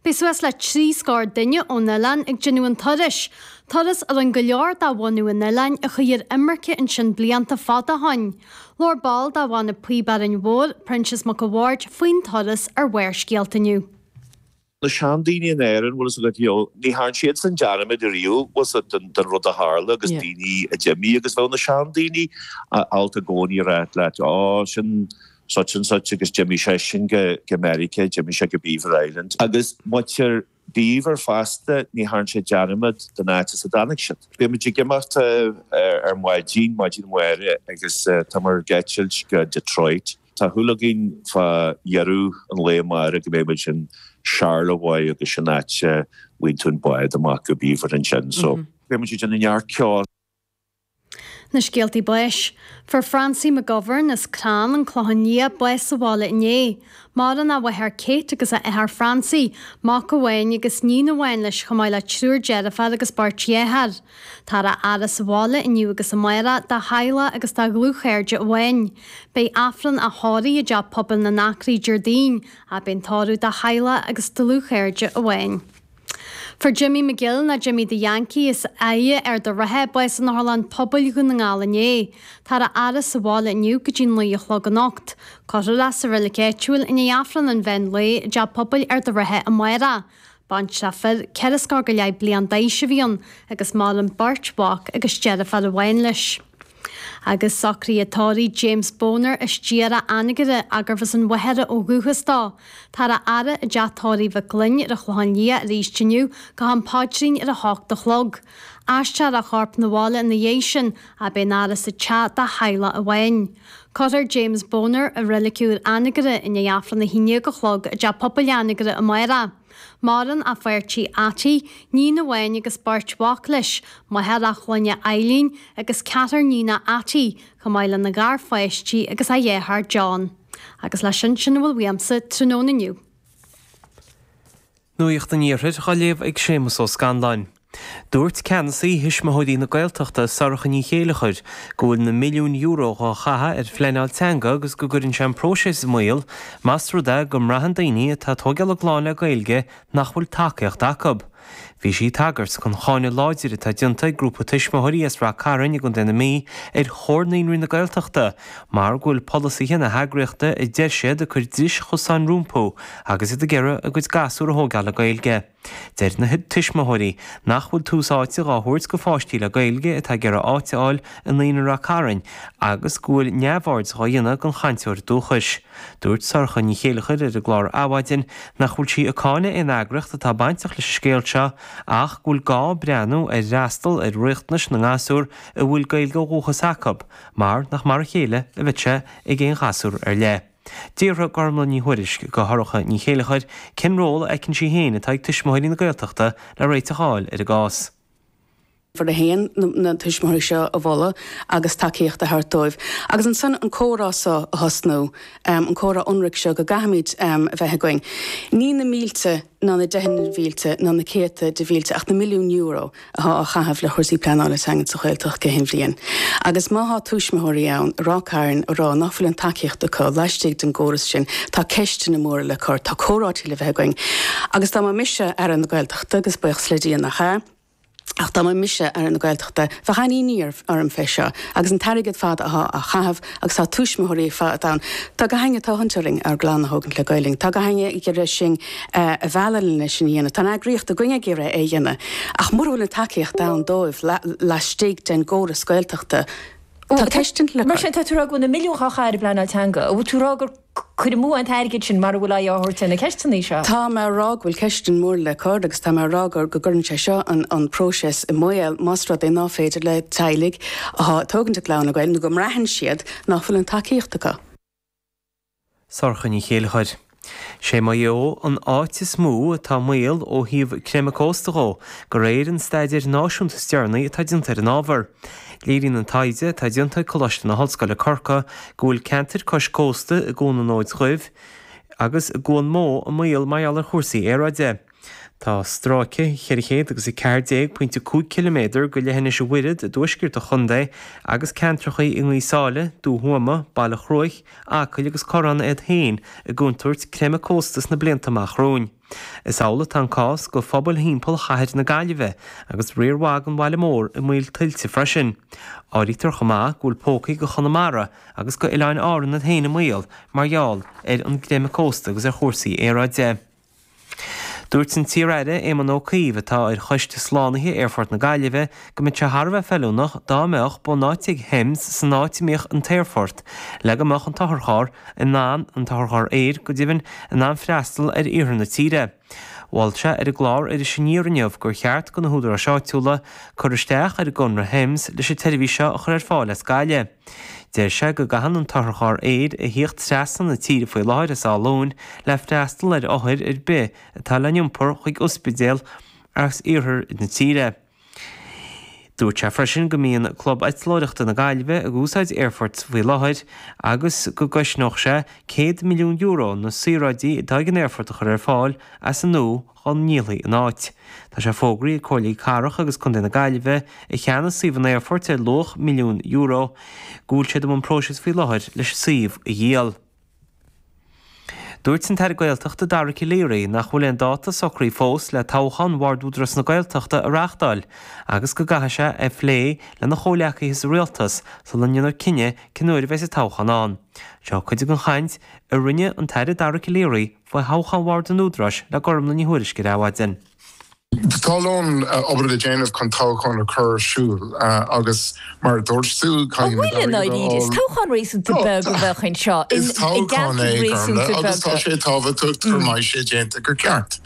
Beidh suas le 3 scór duine ón oileán ag déanamh an turais, turas a rinne go leor de bhunadh an oileáin a chuaigh ar imirce ansin blianta fada ó shoin. Labhair ball de bhanna Píob Árainn Mhór, Proinsias Mac a' Bhaird, faoin turas ar Bharrscéalta inniu. Na seandaoine in Éirinn, bhfuil fhios agat, you know, ní thearn siadsan dearmad ariamh, bhfuil fhios agat, den, den rud a tharla agus daoine a d'imigh agus bheadh na seandaoine ábalta i gcónaí a rá leat, oh, sin such and such agus d'imigh seisean go, go Meiriceá, d'imigh sé go Beaver Island. Agus muintir Beaver fosta, ní thearn siad dearmad den áit as a dtáinig siad. Beidh muid ag imeacht ar maidin, maidin amárach agus táimid ag eitilt go Detroit. Tá súil againn fá dheireadh an lae amárach go mbeidh muid in Charlevoix agus sin áit a bhfaigheann tú an bád amach go Beaver ansin so beidh muid ag déanamh neart ceoil. Na scéaltaí báis. Fuair Francie McGovern as Crann, An Clochán Liath, bás sa bhaile inné. Maireann a mháthair Kate agus a athair Francie, mac amháin agus níon amháin leis chomh maith le triúr deirféar agus beirt dheartháir. Táthar á fhaire sa bhaile inniu agus amárach dá theaghlach agus dá dhlúthchairde amháin. Beidh Aifreann á thórramh i dTeach Pobail na nAcraí Déardaoin, ach beidh an tórramh dá theaghlach agus dlúthchairde amháin. Fuair Jimmy McGill nó Jimmy the Yankee as Aille, Ard an Rátha, bás in Otharlann Pobail Dhún na nGall inné. Táthar á fhaire sa bhaile inniu go dtí 9 a chlog anocht. Cuirfear é sa reilig áitiúil i ndiaidh Aifreann an mheán lae i dTeach Pobail Ard an Rátha amárach. Baintreach fir, 40 scór go leith bliain d'aois a bhí ann agus maireann beirt mhac agus deirfiúr amháin leis. Agus socruithe tórraimh James Boner as Díorá Anagaire gurbh as an Mhachaire ó dhúchas dó. Táthar á fhaire i dteach tórraimh Mhic Gloinn ar an Chlochán Liath arís inniu go ham paidrín ar a hocht a chlog. Aistreofar a chorp 'na bhaile ina dhiaidh sin ach beidh an fhaire sa teach dá theaghlach amháin. Cuirfear James Boner i reilig úr Anagaire i ndiaidh Aifreann 11 a chlog i dTeach Pobail Anagaire amárach. Maireann a pháirtí Attie, níon amháin agus beirt mhac leis, máthair a chlainne Eileen agus ceathrar níonach Attie, chomh maith lena gharpháistí agus a dheartháir John. Agus leis sin, sin a bhfuil uaimse tráthnóna inniu. Nuacht an Iarthair á léamh ag Séamus Ó Scanláin. Dúirt ceannasaí Thuismitheoirí na Gaeltachta, Sorcha Ní Chéilleachair, go bhfuil na milliúin euro dhá chaitheamh ar phleanáil teanga agus go gcuireann sé an próiseas i mbaol más rud é go mbraitheann daoine atá ag tóigeáil a gclann le Gaeilge nach bhfuil tacaíocht acu. Bhí sí ag tagairt don cháineadh láidir atá déanta ag grúpa tuismitheoirí as Rath Cairn i gContae na Mí ar Chomhar Naíonraí na Gaeltachta mar go bhfuil polasaithe na heagraíochta a deir siad ag cur dris chosáin rompu agus iad ag iarraidh a gcuid gasúr a thóigeáil le Gaeilge. Deir na tuismitheoirí nach bhfuil tús áite dhá thabhairt go pháistí le Gaeilge atá ag iarraidh áit a fháil i Naíonra Rath Cairn agus go bhfuil neamhaird dhá dhéanamh den chainteoir dúchais. Dúirt Sorcha Ní Chéilleachair ar an gclár Adhmhaidin nach bhfuil sí ag cáineadh aon eagraíocht atá bainteach leis an scéal seo ach go bhfuil gá breathnú ar fhreastal ar riachtanais na ngasúr a bhfuil Gaeilge ó dhúchas acu mar nach mar a chéile a bheidh sé ag aon ghasúr ar leith. D'fhiafraigh Gormlaith Ní Thuairisg de Shorcha Ní Chéilleachair cén ról a fheiceann sí féin atá ag Tuismitheoirí na Gaeltachta le réiteach a fháil ar an gcás. Uimhir a haon, na tuismitheoirí seo a mholadh agus tacaíocht a thabhairt dóibh. Agus ansan an comhrá seo a thosnú, an comhrá ionraic seo go gcaithfimid a bheith againn. Ní na mílte ná na deicheanna de mhílte ná na céadta de mhílte ach na milliúin euro atá á chaitheamh le chúrsaí pleanála teanga sa Ghaeltacht gach aon bhliain. Agus má thá tuismitheoirí ann i Ráth Cairn a rá nach bhfuil an tacaíocht acu laistigh den gcóras sin, tá ceisteanna móra le cur, tá comhráití le bheith againn. Agus dá mba mise Aire na Gaeltachta, agus buíochas le Dia nach ea, Ach dá mba mise Aire na Gaeltachta, bheadh an-inní orm fé seo, agus an t-airgead fada athá á chaitheamh, agus tá tuismitheoirí fad ann. Tá gach éinne ag tathant orainn ár gclann a thógaint le Gaelainn. Tá gach éinne ag iarraidh sinn a mhealladh lena sin a dhéanamh. Tá an eagraíocht againne ag iarraidh é a dhéanamh. Ach mura bhfuil an tacaíocht ann dóibh laistigh den gcóras Gaeltachta, tá ceisteanna le Mar cur. sin, tá tú ag rá go bhfuil na milliúin dhá chaitheamh ar an bpleanáil teanga. An bhfuil tú ag rá gur cur amú an t-airgead sin mara bhfuil aghaidh á thabhairt ar na ceisteanna seo? Tá mé ag rá go bhfuil ceisteanna móra le cur agus tá mé ag rá go go gcuireann sé seo an an próiseas i mbaol más rud é ná féidir le teaghlaigh athá ag tógaint a gclann le Gaeilge nó go mbraitheann siad nach bhfuil an tacaíocht acu. Sorcha Ní Chéilleachair. Sé Maigh Eo an áit is mó atá i mbaol ó thaobh creimeadh cósta dhó, de réir an staidéir náisiúnta is deireanaí atá déanta ar an ábhar. Léiríonn an taighde atá déanta ag Coláiste na hOllscoile Corcaigh go bhfuil ceantair cois cósta i gCuan an Fhóid Dhuibh agus i gCuan Mó i mbaol mar gheall ar chúrsaí aeráide. Tá stráice 414.5 ciliméadar go leithinis an Mhuiread i dtuaisceart an chontae agus ceantrachaí i nGaoth Sáile, Dumha Thuama, Baile Chruaich, Acaill agus Corrán iad féin i gcontúirt creimeadh cósta sna blianta amach romhainn. Is amhlaidh atá an cás go phobail thimpeall chathair na Gaillimhe agus riar mhaith den bhaile mór i mbaol tuilte freisin. Áirítear chomh maith go bhfuil pócaí go Chonamara agus go Oileáin Árann iad féin i mbaol mar gheall ar an gcreimeadh cósta agus ar chúrsaí aeráide. Dúirt an t-iar-aire Éamon Ó Cuív, atá ar choiste slánaithe Aerfort na Gaillimhe, go mbeadh sé thar a bheith feiliúnach dá mbeadh bunáite ag Hems san áit a mbíodh an t-aerfort le go mbeadh an t-otharcharr in ann, an t-otharcharr aeir, go deimhin, in ann freastal ar iarthar na tíre. Mhol sé ar an gclár Iris Aniar inniu gur cheart do na húdaráis áitiúla cur isteach ar an gconradh Hems leis an tseirbhís seo a chur ar fáil as Gaillimh. Deir sé go gcaitheann an t-otharcharr aeir a thíocht trasna na tíre faoi láthair as Áth Luain le freastal ar othair ar bith atá le n-iompar chuig ospidéal as iarthar na tíre. Dúirt sé freisin go mbíonn Club Eitleoireachta na Gaillimhe ag úsáid aerfoirt faoi láthair agus go gcosnódh sé €100 milliún na saoráidí atá ag an aerfort a chur ar fáil as an nua dá ndíolfaí an áit. Tá sé fógraithe ag Comhairlí Cathrach agus Contae na Gaillimhe, a cheannaigh suíomh an aerfoirt ar luach milliún euro, go bhfuil siad i mbun próisis faoi láthair leis an suíomh a dhíol. Dúirt an tAire Gaeltachta Dara Calleary nach bhfuil aon dáta socraithe fós le toghchán Bhord Údarás na Gaeltachta a reáchtáil agus go gcaithfidh sé é a phlé lena chomhleacaithe sa Rialtas sula ndéanfar cinneadh cén uair a bheidh an toghchán ann. Seo cuid den chaint a rinne an tAire Dara Calleary faoi thoghchán Bhord an Údaráis le Gormlaith Ní Thuairisg ar Adhmhaidin. Tá a lán obair le déanamh chun toghchán a chur ar siúl agus mar a dúirt tú, An caithfimid bhfuil i airgead a ndáiríre? Is fháil. toghchán réasúnta beag a bheadh anseo i Is toghchán gceantair é, réasúnta Gormlaith, agus tá beaga. sé tábhachtach go mbeidh sé déanta go ceart.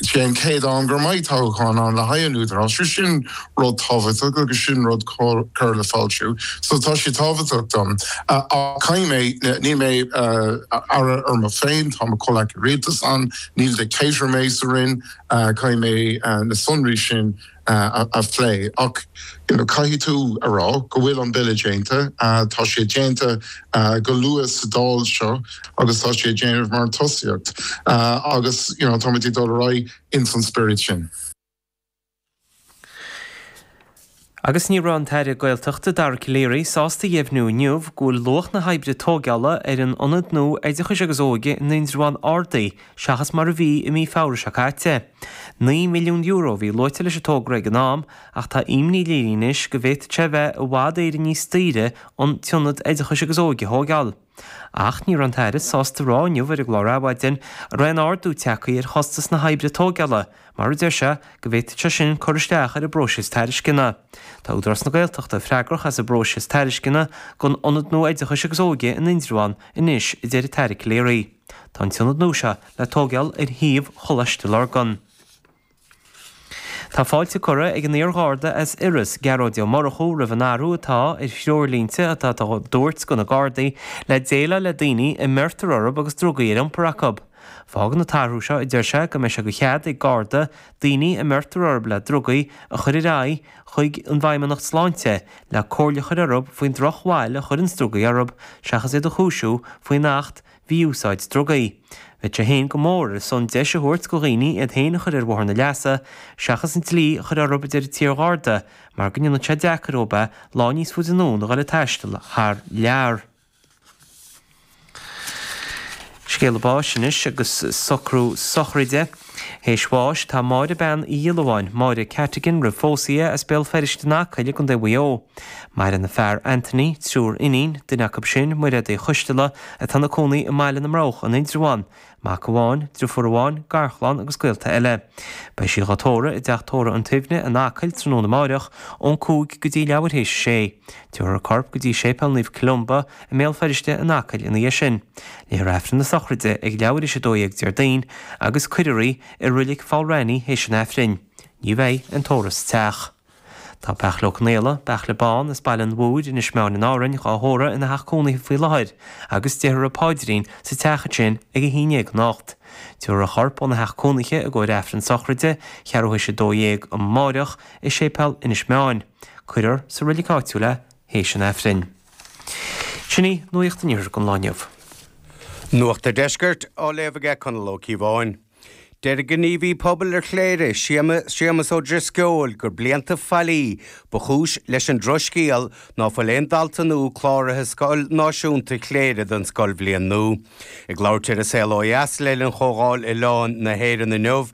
Sé an chéad am gur mbeidh toghchán ann le haghaidh an Údaráis, so sin rud tábhachtach agus sin rud cur le fáiltiú. So tá sé tábhachtach dom. Ach caithfidh mé, níl mé aire ar mo féin, tá mo chomhleacaí rialtais ann, níl dictator mé sa Roinn, Caithfidh mé na sonraí sin a phlé. Ach caithfidh tú a rá go bhfuil an Bille déanta, tá sé déanta go luath sa Dáil seo agus tá sé ag déanamh mar an tosaíocht agus táimid ag dul ar aghaidh ins an spiorad sin. Agus ní raibh an tAire Gaeltachta Dara Calleary sásta a dheimhniú inniu go bhfuil luach na hoibre tóigeála ar an ionad nua oideachais agus óige in Indreabhán ardaithe seachas mar a bhí i mí Feabhra seo caite. €9 milliún a bhí luaite leis an togra ag an am ach tá imní léirithe anois go bhféadfadh sé a bheith i bhfad Éireann níos daoire an t-ionad oideachais agus óige a thóigeáil. Ach ní raibh an tAire sásta a rá inniu ar an gclár Adhmhaidin an raibh aon ardú tagtha ar chostas na hoibre tóigeála, mar a deir sé go bhféadfadh sé sin cur isteach ar an bpróiseas tairisceana. Tá Údarás na Gaeltachta freagrach as an bpróiseas tairisceana don Ionad nua Oideachais agus Óige in Indreabhán anois, a deir an tAire Calleary. Tá an t-ionad nua seo le tóigeáil ar shuíomh Choláiste Lurgan. Tá fáilte curtha ag an iar-Gharda as Iorras, Gearóid Ó Murchú, roimh an athrú atá ar threoirlínte atá á dtabhairt do na Gardaí le déileáil le daoine a mbeirtear orthu agus drugaí ar iompar acu. Fágann an t-athrú seo, a deir sé, go mbeidh sé de chead ag Garda daoine a mbeirtear orthu le drugaí a chur ar aghaidh chuig an bhFeidhmeannacht Sláinte le comhairle a chur orthu faoin drochbhail a chuireanns drugaí orthu seachas iad a chúisiú faoin Acht Mhí-Úsáid Drugaí. Bheadh sé féin go mór ar son deis a thabhairt go dhaoine iad féin a chur ar bhóthar na leasa, seachas an dlí a chur orthu a deir an t-iar-Gharda, mar go ndéanann sé deacair dóibh é lá níos faide anonn a dhul ag taisteal thar lear. Scéala báis anois agus socrú sochraide. Théis bháis tá Máire Bean Uí Dhiollabháin, Máire Cattigan roimh phósadh í, as Béal Feirste in Acaill i gContae Mhaigh Eo. Maireann a fear Anthony, triúr iníon, duine acu sin, Mairéad Uí Choisteala, atá ina cónaí i mBaile na mBroghach in Indreabhán, mac amháin, driofúr amháin, garchlann agus gaolta eile. Beidh sí dhá tórramh i dTeach Tórraimh an tSuibhne in Acaill tráthnóna amáireach ón 5 go dtí leathuair théis a sé. Tabharfar a corp go dtí Séipéal Naomh Columba i mBéal Feirste in Acaill ina dhiaidh sin. Léifear Aifreann na sochraide ag leathuair théis 12 Déardaoin agus cuirfear í i Roilig Pholl Raithní théis an Aifrinn. Ní bheidh aon tórramh sa teach. Tá Beairtle Ó Conaola, Beairtle Bán, as Baile an Mhúir, Inis Meáin in Árainn, dhá thórramh ina theach cónaithe faoi láthair agus déarfar an paidrín sa teach ansin ag 11 anocht. Tabharfar a chorp óna theach cónaithe i gcomhair Aifreann sochraide, cheathrú théis 12 amáireach, i Séipéal Inis Meáin. Cuirfear sa roilig áitiúil é théis an Aifrinn. Sin í Nuacht an Iarthair don lá inniu. Nuacht an Deiscirt á léamh aige Conall Ó Cíobháin. Deir gníomhaí pobail ar Chléire, Séamus Ó Drisceoil, gur blianta faillí ba chúis leis an drochscéal ná fuil aon dalta nua cláraithe Scoil Náisiúnta Chléire don scoilbhliain nua. Ag labhairt ar An Saol Ó Dheas le linn Chomhdháil Oileáin na hÉireann inniu.